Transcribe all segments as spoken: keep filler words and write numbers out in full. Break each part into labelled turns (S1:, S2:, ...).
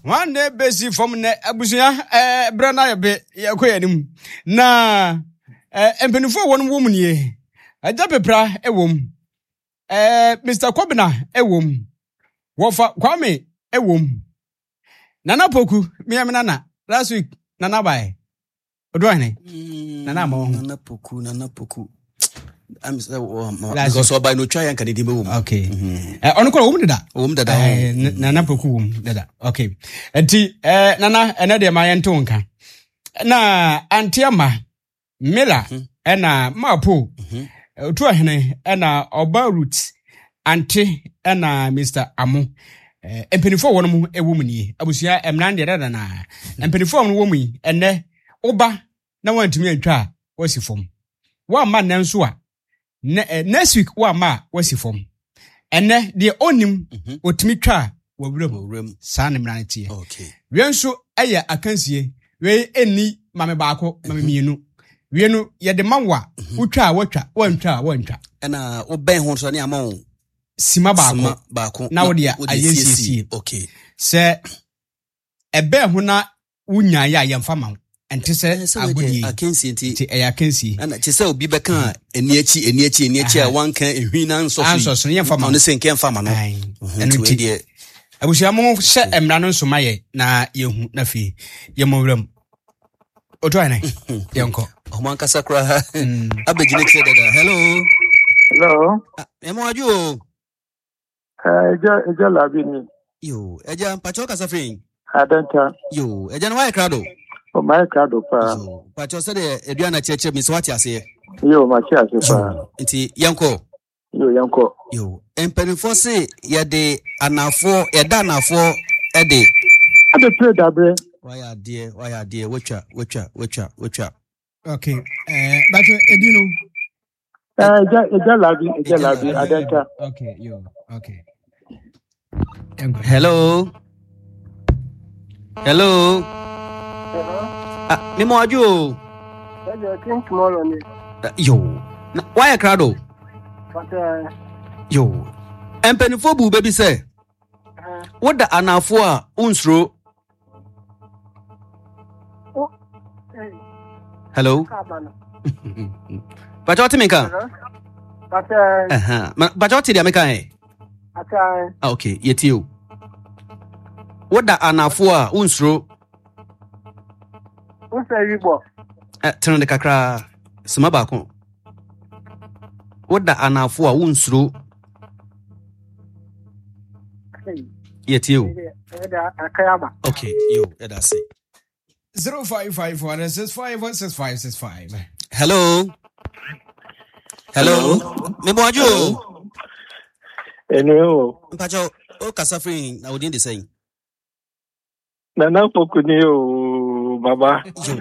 S1: Hwan na ɛbɛsi fam nnɛ? Abusua, ɛɛ berɛ no ayɛ be, yɛkɔ yɛn anim. Na ɛɛ mpanimfoɔ a wɔn wɔ mu nie. Agya Pepra wɔ mu. Ɛɛ Mister Kɔbena wɔ mu. Wɔfa Kwame wɔ mu. Nana Poku, mmea me nana. Last week, Nana bae. Oduahene.
S2: Mm,
S1: Nana ama wɔn ho.
S2: Nana Poku, Nana Poku. I'm sɛ wɔ
S1: Last
S2: because ɔba no otwa yɛn ka ne din bɛwɔ mu.
S1: Okay. Ɛ ɔno kora wɔ mu deda.
S2: Ɔwɔ mu dada.
S1: Eh, n- Nana Poku wɔ mu dada. Okay. Nti eh, Nana, ɛnɛ deɛ ma yɛnto wo nka. Na Auntie Ama, Miller, ɛna Mapo, Otuahene, ɛna Ɔba Ruth, Ante, ɛna Mister Amo. Eh, mpanimfoɔ a wɔn mu wɔ mu nie. Abusua, mmara no deɛ dada naa. Mpanimfoɔ a wɔn wɔ mu yi, ɛnɛ, woba na wɔantumi antwa a, wɔasi fam. Woamma nnɛ nso a, ne, eh, next week woamma a, wɔasi fam. Ɛnɛ, deɛ ɔnnim, ɔtumi twa a, wɔwura mu.
S2: Wɔwura mu.
S1: Saa ne mmara no teɛ.
S2: Okay.
S1: Wei nso yɛ akansie. Wei ɛnni mame baako, mame mmienu. Wei no, yɛde ma wo a, wotwa a woatwa, woantwa a woantwa.
S2: Ɛna wobɛn ho nso ne ama wo
S1: Sima baako.
S2: Sima baako.
S1: Na wode
S2: wode
S1: ayɛ
S2: siesie.
S1: nsiesie.
S2: Okay.
S1: Sɛ ɛbɛn ho na wonyaeɛ a, yɛmfa ma wo. Ɛnte sɛ
S2: Ɛɛ, sɛ wei deɛ
S1: agodie.
S2: akansie nti.
S1: Nti ɛyɛ akansie.
S2: Ɛna kyerɛ sɛ obi bɛka a ɛni akyi, ɛni akyi, ɛni akyi a
S1: Aha.
S2: wanka ehwi na nsɔ so yi.
S1: Ansɔ so no, yɛmfa ma wo.
S2: Ɔno sɛ nkɛ mfa ma no.
S1: Ae.
S2: Mhm,
S1: Ɛno
S2: nti wei
S1: nti,
S2: deɛ
S1: abusua mo hyɛ mmara no nso ma yɛ na yɛhu na afei yɛmmɔ wura mu. Otu ayɛ ne yɛnkɔ.
S2: Ɔmo ankasa koraa abɛgyina kyerɛ dada. Hello.
S3: Hello.
S2: Ah, ɛmo adwo o.
S3: Eh, Ẹja Ẹja Labi ni.
S2: Yo, ɛgya mpakyɛw kasa firi.
S3: Adenta.
S2: Yo, ɛgya no wayɛ krado.
S3: O maa krado paa.
S2: Yo, mpakyɛw sɛdeɛ aduane akyerɛkyerɛ mi sɛ wate aseɛ.
S3: Yo, ma kye ase paa.
S2: Yo, nti yɛnkɔ.
S3: Yo, yɛnkɔ.
S2: Yo, mpanimfoɔ se yɛde anafoɔ, yɛda anafoɔ ɛde.
S3: Ade pere dabrɛ.
S2: Wayɛ adeɛ, wayɛ adeɛ, watwa, watwa, watwa, watwa.
S1: Okay. Eh, but edi no.
S3: Eh, Ẹja Ẹja Labi, Ẹja
S2: Ẹja
S3: Labi,
S2: Labi.
S3: Adenta.
S1: Okay, yo, okay. Yɛnkɔ.
S2: Hello. Hello.
S4: Hello.
S2: Ah, me mo adwo o.
S4: Ẹja King tomorrow ni.
S2: Eh, Yo. Na wayɛ krado.
S4: But uh,
S2: Yo. Mpanimfoɔ bu bɛbi sɛ
S4: uh,
S2: woda anafoɔ a wonsuro.
S4: oh, hey,
S2: Hello.
S4: kaba no.
S2: Pakyɛ wote me nka?
S4: Hello. But uh,
S2: Ɛhã. Ma- Pakyɛ wote deɛ meka ɛ?
S4: ata
S2: Ah, okay, yɛtie o. Woda anafoɔ a wonsuro.
S4: o sɛ wibɔ.
S2: Eh, tene de kakra. Sima baako. Woda anafoɔ a wonsuro.
S4: Hey,
S2: Yɛtie o.
S4: ɛda akayaba.
S2: Okay, yo, ɛda ase.
S1: Zero five five one six five one six five six five.
S2: Hello. Hello. Me mo adwo o.
S3: Ẹnu o.
S2: Mpakyɛ o kasa firi na odin de sɛn?
S3: Nana Poku ni o, baba.
S2: Yo.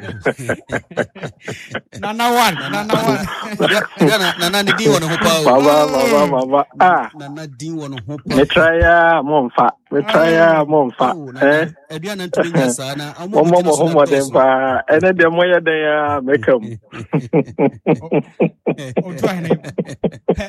S1: Nana one, Nana one.
S2: Nana nana ne din wɔ ne ho paa o.
S3: Baba, baba, baba. Ah,
S2: Nana din wɔ ne ho paa.
S3: me try ya mo nfa. Me try ya mo nfa.
S2: Oh,
S3: Eh,
S2: nana aduane ntumi nya saa na ɔmo
S3: mo mo
S2: gyina
S3: mo
S2: so
S3: ho
S2: na
S3: mmɔden
S2: dɔɔso.
S3: paa. Ɛnɛ deɛ moyɛ dɛn a mɛka mu.
S1: Otu ahene. Pɛ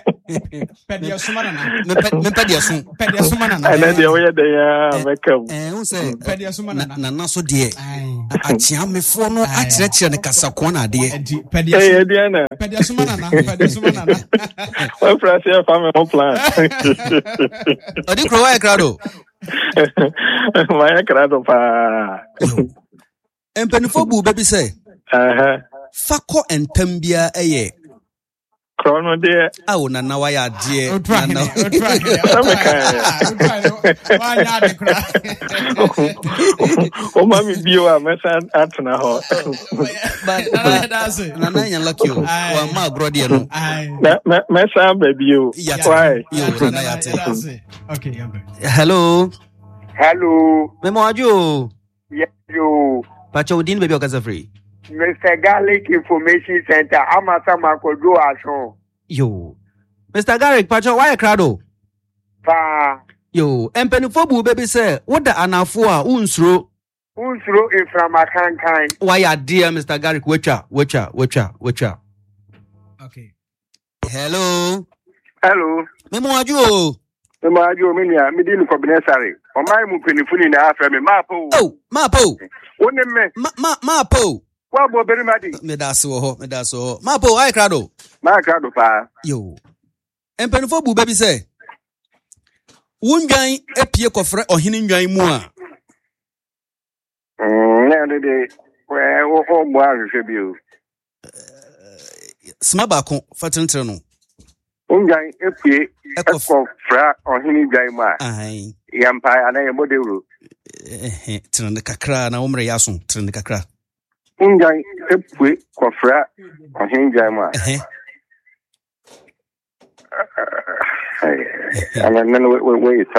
S1: pɛ deɛ soma nana.
S2: Mepɛ mepɛ deɛ so.
S1: Pɛ deɛ soma nana.
S3: Ɛnɛ deɛ woyɛ dɛn a mɛka mu.
S2: Ɛɛ n sɛ
S1: Pɛ deɛ soma
S2: na-
S1: nana.
S2: nana so deɛ
S1: Aye.
S2: akyeamefoɔ no
S1: Aye.
S2: akyerɛkyerɛ ne kasakoa na adeɛ.
S1: Nti pɛ deɛ
S3: Ɛyɛ
S1: soma
S3: deɛ na
S1: pɛ deɛ soma nana. Pɛ deɛ soma nana.
S3: wafiri ase ɛfa me ho plan.
S2: Ɔde kuro wayɛ krado.
S3: Mayɛ krado paa.
S2: Mpanimfoɔ bu bɛbi sɛ
S3: Aha.
S2: fa kɔ ntam biara ɛyɛ
S3: Korɔ no deɛ
S2: awo nana wayɛ adeɛ.
S1: Otu ahene.
S2: Nana.
S1: Otu ahene.
S3: sɛ
S1: Otu
S3: mekaeɛ.
S1: ahene. Otu ahene. Wanyɛ ade kora.
S3: Woma me bio a mɛsan atena hɔ.
S2: But
S1: Nana yɛda ase.
S2: nana nya lucky o.
S1: Aye.
S2: Wamma agorɔ deɛ no.
S1: Aye.
S3: Na- mɛ- Mɛsan aba bio.
S2: Yate.
S3: Why?
S2: Yo,
S1: Yate,
S2: nana
S1: Nana
S2: yate.
S1: yɛda ase. Okay, yɛnkɔ.
S2: Hello.
S5: Hello.
S2: Memo adwo o.
S5: Yes, yo.
S2: Pakyɛ wo din baabi a ɔkasa firi.
S5: Mister Garlic Information Center, Amasa Makojo Ashon.
S2: Yo. Mister Garrick, pakyɛ wayɛ krado.
S5: Pa.
S2: Yo, mpanimfoɔ bu bɛbi sɛ woda anafoɔ a wonsuro.
S5: Unsuro inframa kankan.
S2: Wayɛ adeɛ Mister Garrick, watwa, watwa, watwa, watwa.
S1: Okay.
S2: Hello.
S5: Hello.
S2: Memo adwo o.
S5: Mema adwo me nua, me di no Kɔbene Sare. Ɔman mu mpanyinfo nyinaa frɛ me maapa o.
S2: Oh, maapa o.
S5: Wo ne me.
S2: Ma ma maapa o.
S5: Woabɔ barima di.
S2: Meda ase wɔ hɔ, meda ase wɔ hɔ. Maapa o, ayɛ krado.
S5: Mayɛ krado paa.
S2: Yo. Mpanyinfoɔ bu bɛ bi sɛ, wo ndwan apue kɔfrɛ ɔhene ndwan mu a.
S5: Mm, na ɛno de, wɔmmɔ ahwehwɛ bio.
S2: Sima baako fa tenetene no.
S5: Ndwan epue ɛkɔ fra ɔhene dwan mu a. Yɛmpa anaa yɛmmɔ dawuro.
S2: Tene no kakra na wo mmerɛ yɛ aso, tene no kakra.
S5: Ndwan epue kɔfra ɔhene dwan mu a.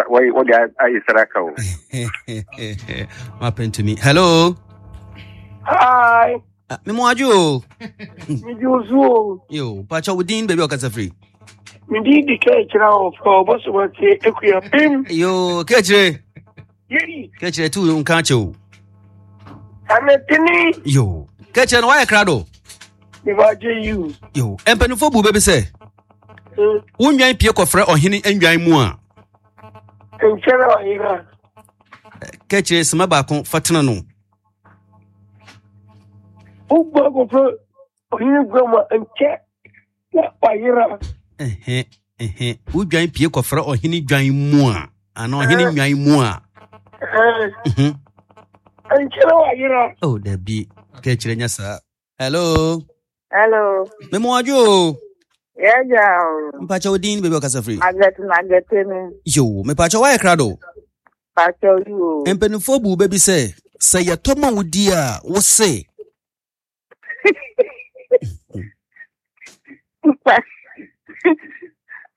S5: Wode ayɛ saraka o.
S2: Mapɛntumi. Hello.
S4: Hi.
S2: Memo adwo o.
S4: Megye wo so o.
S2: Yo, pakyɛ wo din baabi a ɔkasa firi?
S4: Mede di ka kyerɛ wo fa ɔbɔsomate akua pem.
S2: Yo, ka kyerɛ.
S4: Yei.
S2: Ka kyerɛ tu nka kyɛ o.
S4: Anatene.
S2: Yo, ka kyerɛ no wayɛ krado.
S4: Mebagye you.
S2: Yo, mpanimfoɔ bu bɛbi sɛ wo nnwan pie kɔfrɛ ɔhene nnwan mu a.
S4: Nkyɛrɛ ɔhene.
S2: Ka kyerɛ sima baako fa tena no.
S4: Wogba kɔfrɛ ɔhene gua mu a nkyɛ na wayera.
S2: Ɛhɛ, ɛhɛ. Wo dwan pie kɔfrɛ ɔhene dwan mu a, anaa ɔhene nnwan mu a.
S4: Ɛhɛ. Nkyɛrɛ wayera.
S2: Oh, dabi. Ka kyerɛ nya saa. Hello.
S6: Hello.
S2: Memo adwo o.
S6: Yɛgya o.
S2: Mpakyɛ wo din baabi a ɔkasa firi?
S6: Margaret Margaret ni.
S2: Yo, mepakyɛ woayɛ krado?
S6: Pakyɛ yi o.
S2: Mpanimfoɔ bu bɛ bi sɛ, sɛ yɛtɔ ma wo di a, wo se.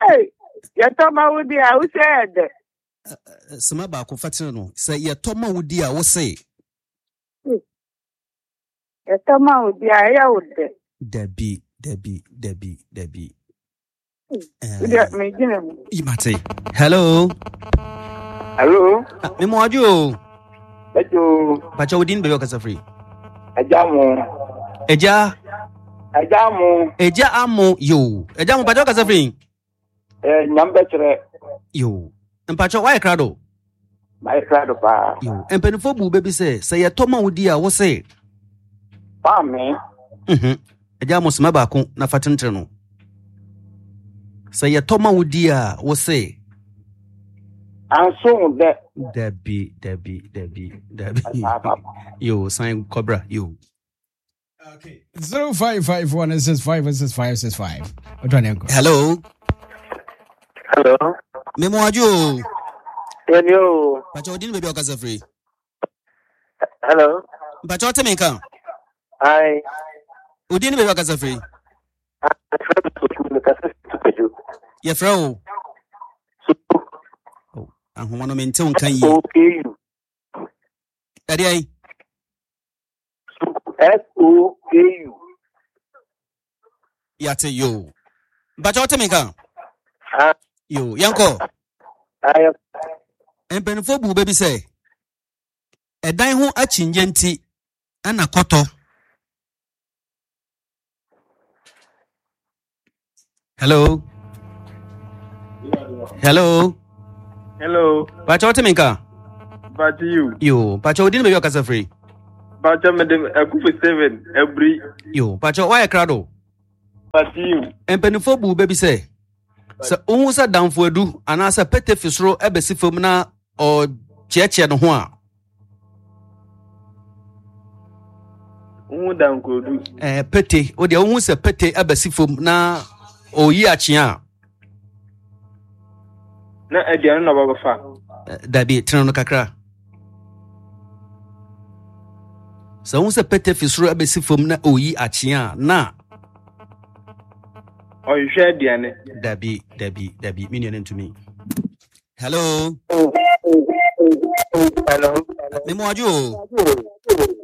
S6: Hey, yɛtɔ ma wo di a, wo se yɛ dɛ.
S2: Sima baako fa tene no. Sɛ yɛtɔ ma wo di a, wo se.
S6: Yɛtɔ ma wo di a, ɛyɛ wo dɛ.
S2: Dabi, dabi, dabi, dabi.
S6: Mate.
S2: Hello.
S5: Hello.
S2: Memo adwo o.
S5: Ejo.
S2: Pakyɛ wo din baabi a ɔkasa firi?
S5: Agya mo.
S2: Agya.
S5: Agya mo.
S2: Agya amo yo. Agya mo pakyɛ ɔkasa firi?
S5: Eh, nyam bɛkyerɛ.
S2: Yo. Mpakyɛ wayɛ krado?
S5: Mayɛ krado paa.
S2: Yo. Mpanimfoɔ bu bɛ bi sɛ sɛ yɛtɔ ma wo di a wo se.
S5: Paame.
S2: Mhm. Agya mo soma baako na fa tentere no. Sɛ yɛtɔ ma wo di a wo se.
S5: Anso dɛ.
S2: Dabi, dabi, dabi, dabi. Yo, sign cobra, yo.
S1: Okay. Zero five five one six five six five six five.
S2: Hello.
S3: Hello.
S2: Memo adwo.
S3: Yɛni o.
S2: Pakyɛ wo din baabi a ɔkasa firi?
S3: Hello.
S2: Mpakyɛ wote me nka?
S3: Hi.
S2: Wo din baabi a ɔkasa firi? Yɛfrɛ wo? Ahoma no mente wo nka yie.
S3: S O K U.
S2: Ɛdeɛ yi?
S3: S O K U.
S2: Yate yo. Mpakyɛ wote me nka? Yo, yɛnkɔ. Mpanimfoɔ bu bɛ bi sɛ ɛdan ho akyinnyɛ nti ɛna kɔtɔ. Hello. Hello.
S3: Hello.
S2: Pakyɛ wote me nka?
S3: Pakyɛ you.
S2: Yo, pakyɛ wo din baabi a ɔkasa firi?
S3: Pakyɛ mede Akufo seven abiri.
S2: Yo, pakyɛ woayɛ krado?
S3: Pakyɛ you.
S2: Mpanimfoɔ bu bɛ bi sɛ sɛ wohu sɛ damfo adu anaasɛ pete fi soro ɛbɛsi fam na ɔkyeɛkyeɛ ne ho a.
S3: Wohu damfo adu.
S2: Eh, pete, wo deɛ wohu sɛ pete ɛbɛsi fam na ɔyi akyea a.
S3: Na aduane na ɔbɛfa.
S2: Dabi, tena no kakra. Sɛ wohu sɛ pete fi soro ɛbɛsi fam na ɔyi akyea a, na
S3: ɔhwehwɛ aduane.
S2: Dabi, dabi, dabi, me nua no ntumi. Hello.
S3: Hello.
S2: Memo adwo o.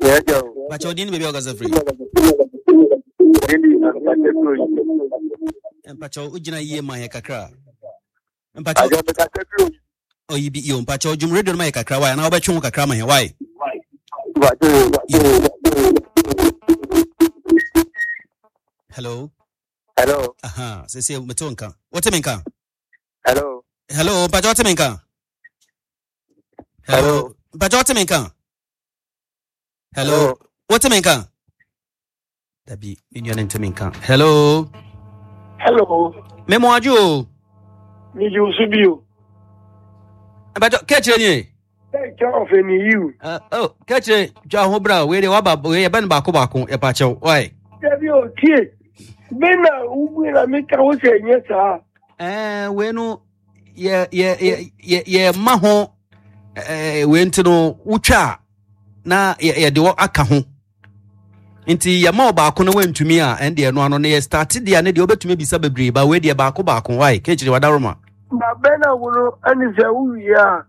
S3: Yɛgya o.
S2: Pakyɛ wo din ne baabi a ɔkasa firi? Mpakyɛ wo gyina yie ma yɛ kakra. Mpakyɛ oyi bi yo, mpakyɛ dwum radio no ma yɛ kakra wae, anaa wobɛtwe ho kakra ma yɛ wae. Hello.
S3: Hello.
S2: Aha, sɛ sɛ mete wo nka. Wote me nka?
S3: Hello.
S2: Hello, mpakyɛ wote me nka? Hello. Mpakyɛ wote me nka? Hello. Wote me nka? Dabi, me nua no nte me nka. Hello.
S4: Hello.
S2: Me mo adwo o.
S4: Me ju so bi o.
S2: Mpakyɛ kɛkyerɛ nie.
S4: Kɛkyerɛ ɔfɛ ni yiw.
S2: Uh, oh, kɛkyerɛ dwa ho bra wei de waba wei yɛbɛ no baako baako yɛpakyɛw. Why?
S4: Dabi o tie. Bɛ na wubui na meka wo sɛ ɛnyɛ saa.
S2: Eh, wei no yɛ yɛ yɛ yɛ yɛ ma ho eh, wei nti no wotwa a na yɛde wɔ aka ho nti yɛma ɔbaako no wantumi a ɛn deɛ no ano no yɛ start deɛ ne deɛ wobɛtumi abisa bebree ba wei deɛ baako baako wae kɛkyiri wadaroma.
S4: Na bɛ na wo no ɛne sɛ wowie a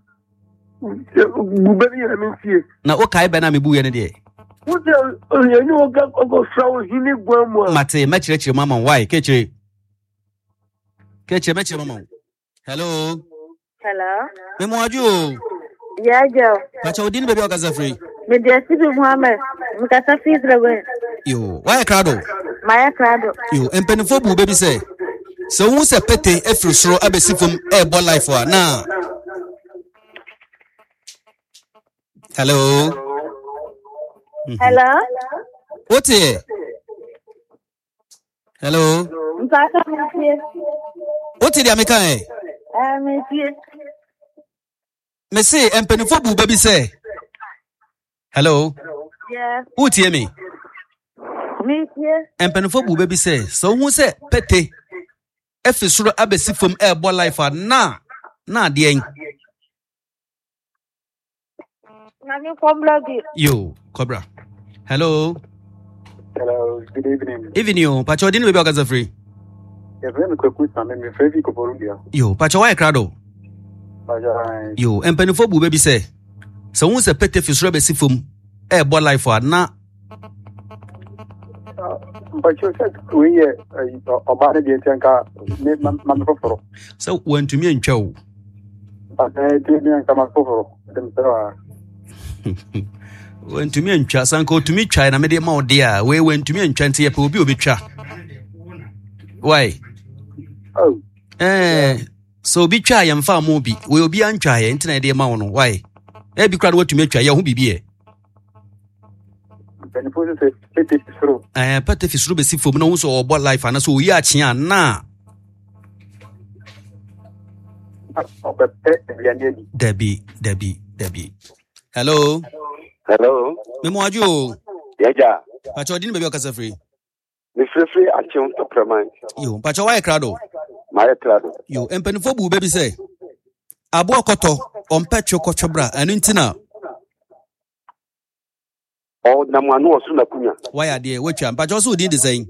S4: bu bɛ no yɛ me ntie.
S2: Na wokae bɛ no a mebuiɛ no deɛ
S4: wo sɛ ɛne wo ka ɔkɔfra wo hene guan mu a
S2: mate mɛkyerɛkyerɛ mu ama wo wae kɛkyiri kɛkyiri mɛkyerɛ mu ama wo. Hello.
S6: Hello.
S2: Me mo adwo o.
S6: Yeah, Joe.
S2: Pacha odin baby okasa free.
S6: Me de Sibi Muhammad. Me kasa free Dragon.
S2: Yo, why krado?
S6: My krado.
S2: Yo, empenifo bu baby say. So who say pete efiri soro abesi fam e bo life wa na. Hello.
S6: Mm-hmm. Hello.
S2: What here? Hello.
S6: Mpasa me.
S2: What did you eh?
S6: Eh, me tie.
S2: Me say empenifo bu baby say. Hello.
S6: Yeah.
S2: Who tie me?
S6: Me tie.
S2: Empenifo bu baby say. So who say pete efi soro abesi fam e bo life na na de en.
S6: Na me kobra bi.
S2: Yo, kobra. Hello.
S3: Hello, good evening.
S2: Evening yo. Pacho odin baby okaza free. Yo, pacho why krado? Yo, empenifo bu baby say. So who say pete fi soro abesi fam e bo life na
S3: Pacho said we ọba de nka me ma me foforo.
S2: So wantumi antwa wo.
S3: Ba de bi nka ma foforo dem sɛ
S2: wantumi antwa sanka otumi twa na me de ma wo de a we wantumi antwa nti ye pe obi obetwa. Why?
S3: Oh.
S2: Eh, so obi twa ye mfa mo bi. We obi antwa ye nti na de ma wo no. Why? E bi kra watumi atwa ye ho bibi e. Eh, pete fisuru besi fom na wo so obo life ana so oyi ache a na Debbie Debbie Debbie. Hello.
S5: Hello.
S2: Me mo adwo.
S5: Yeja.
S2: Pacho odin baby okasa free.
S5: Me free free ache topraman.
S2: Yo, pacho why krado?
S5: My krado.
S2: Yo, empenifo bu baby say. Abo okoto ompetwe kwotwobra anu ntina.
S5: Oh, na mwanu osu na kunya.
S2: Why are there? Which one? Pacho so odin design.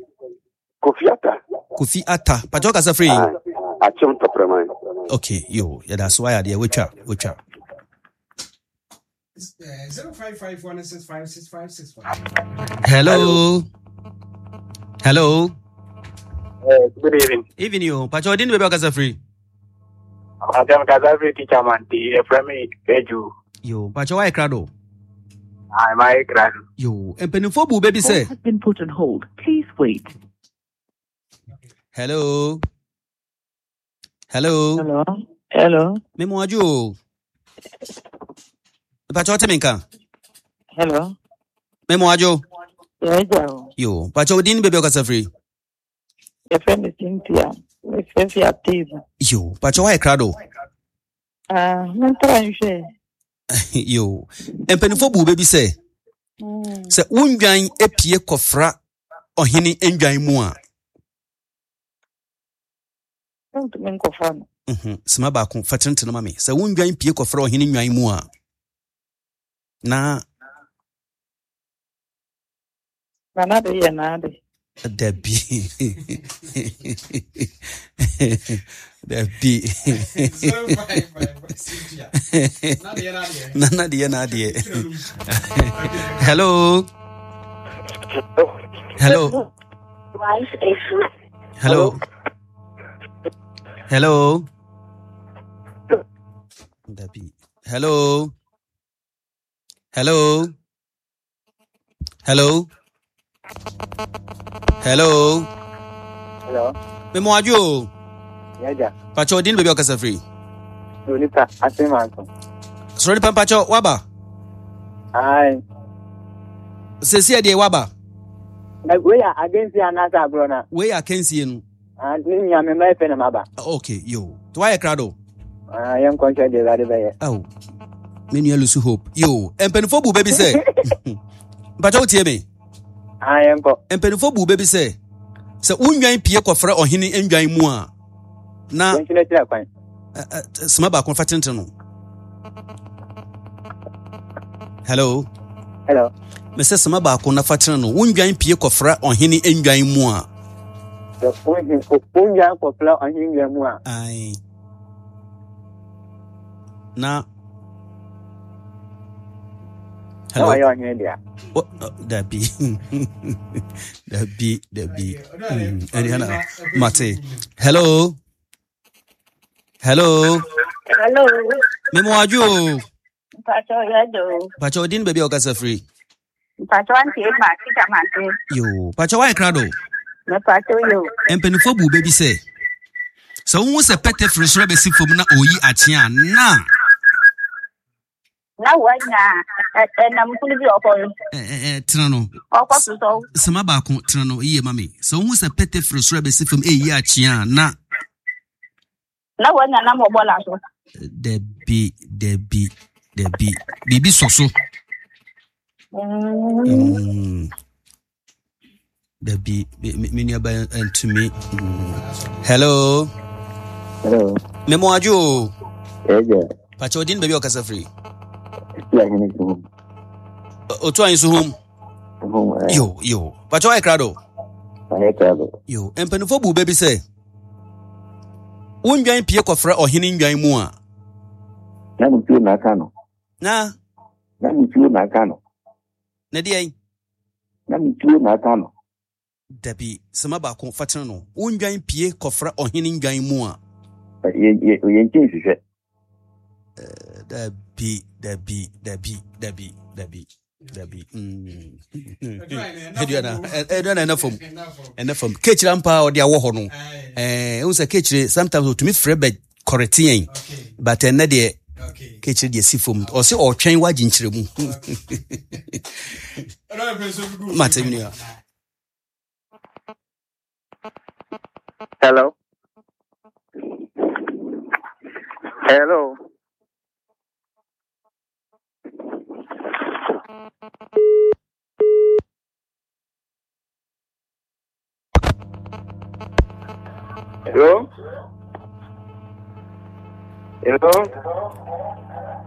S5: Kofi Ata.
S2: Kofi Ata. Pacho kasa free.
S5: Ache topraman.
S2: Okay, yo, yeah, that's why are there. Which one? Which one?
S1: zero five five one six five six five six five.
S2: Hello. Hello.
S3: Uh, good evening.
S2: Evening, you. Pacho odin baby kasa free.
S3: Madam kasa free teacher man the Efremi Peju.
S2: Yo, Pacho why krado?
S3: I'm my krado.
S2: Yo, empenifo bu baby say.
S7: Has been put on hold. Please wait.
S2: Hello. Hello.
S7: Hello. Hello.
S2: Me mo adwo. Pacho teminka.
S7: Hello.
S2: Me mo adwo.
S7: Yeah,
S2: yo, Pacho odin baby okasa free.
S7: Your friend is Cynthia. Me free Atiba.
S2: Yo, Pacho why krado?
S7: Ah, me try nhwe.
S2: Yo, empenifo bu baby say.
S7: Mm.
S2: Se wundwan epie kofra ohene endwan mu a.
S7: Ntumi nkofra no.
S2: Mhm, sima ba ko fatentene ma me. Se wundwan pie kofra ohene nwan mu a. Na
S7: na na de ye na de.
S2: Debbie. Debbie. Nana de na de. Hello. Hello. Hello. Hello. Debbie. Hello. Hello. Hello. Hello.
S3: Hello.
S2: Me mo adwo.
S3: Yaja.
S2: Pacho odin baby okasa free.
S3: Onita asemanto.
S2: Soro nipa mpakyɛ waba.
S3: Aye.
S2: Sɛsi ɛdeɛ waba.
S3: Wei yɛ akansie anaasɛ agorɔ na?
S2: Wei yɛ akansie no.
S3: Ah, ne nua me mma efe na maba.
S2: Okay, yo. To wayɛ krado.
S3: Ah, yɛn nkɔnhyɛ deɛ Awurade bɛyɛ.
S2: Aw. Me nua Lucy Hope. Yo, mpanimfoɔ bu bɛ bi sɛ. Mpakyɛ wotie me?
S3: Ah, yɛn kɔ.
S2: Mpanimfoɔ bu bɛ bi sɛ sɛ wonwan pie kɔfrɛ ɔhene ndwan mu a na
S3: Wɔnkyerɛ kwan.
S2: Sima baako fa tenten no. Hello.
S3: Hello.
S2: Mesɛ sima baako na fa tene no. Wondwan pie kɔfra ɔhene ndwan mu a.
S3: Wondwan kɔfra ɔhene ndwan mu a.
S2: Aye. Na.
S3: Hello. Na ɔhene dea.
S2: Oh, dabi. Dabi, dabi. Mm. Mate. Hello. Hello.
S6: Hello.
S2: Memo adwo.
S6: Mpacho yedo.
S2: Mpacho odin baby okasa free.
S6: Mpacho anti ma kita mante.
S2: Yo, mpacho wa krado.
S6: Me pacho yo.
S2: Empenifo bu baby say. So who se pete free soro be si fom na oyi ache a na.
S6: Na wa nya enam kunu bi okọ.
S2: Eh eh tena no.
S6: Okọ so so.
S2: Sema ba ko tena no iye mami. So who se pete free soro be si fom e yi ache a na.
S6: Na wa nya na mo bola so.
S2: Debi debi debi bibi soso. Mm. Debi me nua ba ntumi. Hello.
S3: Hello.
S2: Memo adwo.
S3: Eje.
S2: Pacho odin baby okasa free.
S3: Yeah, ni so.
S2: Otu anyi so home.
S3: Home.
S2: Yo yo. Pacho ai krado.
S3: Ai krado.
S2: Yo, empanifo bu baby say. Wondwan pie kɔfrɛ ɔhene ndwan mu a.
S3: Na mi tuo na aka no.
S2: Na
S3: na mi tuo na aka no.
S2: Na deɛ?
S3: Na mi tuo na aka no.
S2: Dabi, sema baako fa tene no. Wondwan pie kɔfrɛ ɔhene ndwan mu a.
S3: Ye ye ye nkyɛn hwehwɛ.
S2: Dabi, dabi, dabi, dabi, dabi. Dabi. Mm. Eduana, Eduana ena fam. Ena fam. Kechira mpa odi awo ho no. Eh, unse kechire sometimes otumi frɛ be correct yen. But ene de kechire de si fam. O se o twen wa ginkyere mu. Mate mi.
S5: Hello. Hello. Hello? Hello?